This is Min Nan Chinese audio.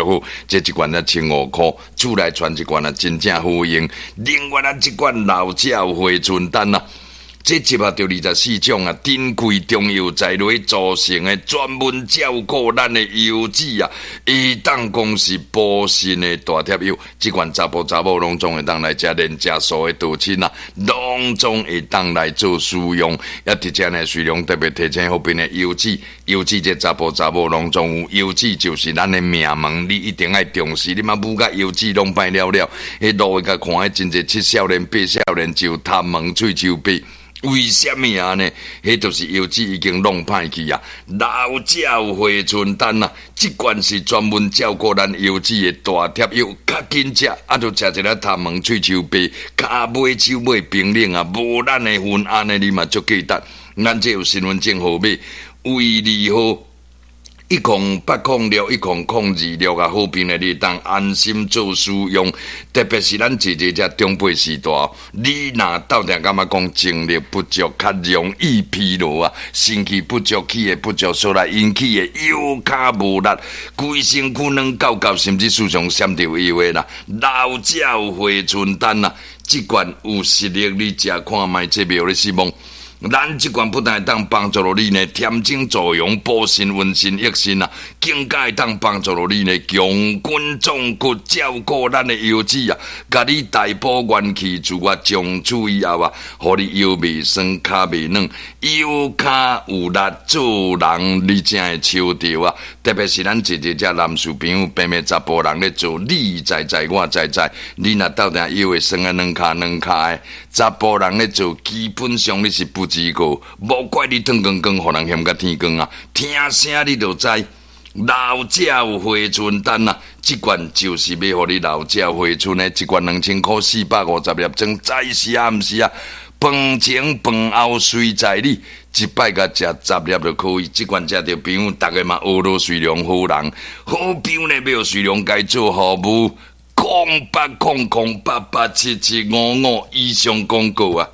好，這一罐才千五箍，厝內傳一罐啊，真正好用。另外咱這罐老鳥回春丹啊。這集合著24種啊，珍貴中藥材落組成的，專門照顧咱的腰子啊，會當講是補腎的大帖藥。這款查埔查某攏總會當來食，連食素的道親啊，攏總會當來做使用。也佇遮呢，瑞龍特別提醒好邊的腰子，腰子這查埔查某攏總有，腰子就是咱的命門，你一定愛重視。你嘛舞甲腰子攏歹了了，彼路會共看，彼真濟七少年八少年就頭毛喙鬚白。為啥物按呢？彼就是腰子已經弄歹去啊！老鳥回春丹啊，這罐是專門照顧咱腰子的大帖藥，較緊食，啊，就食一下頭毛喙鬚白，跤尾手尾冰冷啊，無咱的份，按呢你嘛足記得。咱這有身份證號碼，為二號。108061002六啊，好朋友你會當安心做使用。特別是咱姐姐這長輩時代，你若鬥定感覺講精力不足，較容易疲勞啊，身氣不足，氣會不足，所來引起的腰跤無力，規身軀軟厚厚，甚至時常閃著腰的啦。老鳥回春丹啊，這罐有實力，你食看覓這袂予你失望。咱這罐不但會當幫助著你呢，添精助陽、補腎、溫腎、益腎啊，更加會當幫助著你呢，強筋壯骨，照顧咱的腰子啊，共你大補元氣，自我從此以後啊，予你腰袂酸、跤袂軟、腰跤有力，做人你才會抽著啊！特別是咱姐姐這男士朋友，平平查埔人咧做，你知知我知知，你若鬥定腰會酸啊，軟跤軟跤的，查埔人咧做，基本上你是不及格，無怪你脫光光，予人嫌甲天光啊！聽聲你就知，老鳥回春丹啊！這罐就是欲予你老鳥回春的，一罐2000箍，450粒裝，知是啊，毋是啊？飯前飯後隨在你，一擺共食10粒就可以。這罐食著朋友，逐个嘛學落瑞龍好人，好朋友呢，欲予瑞龍共做服務，0800887755以上廣告啊！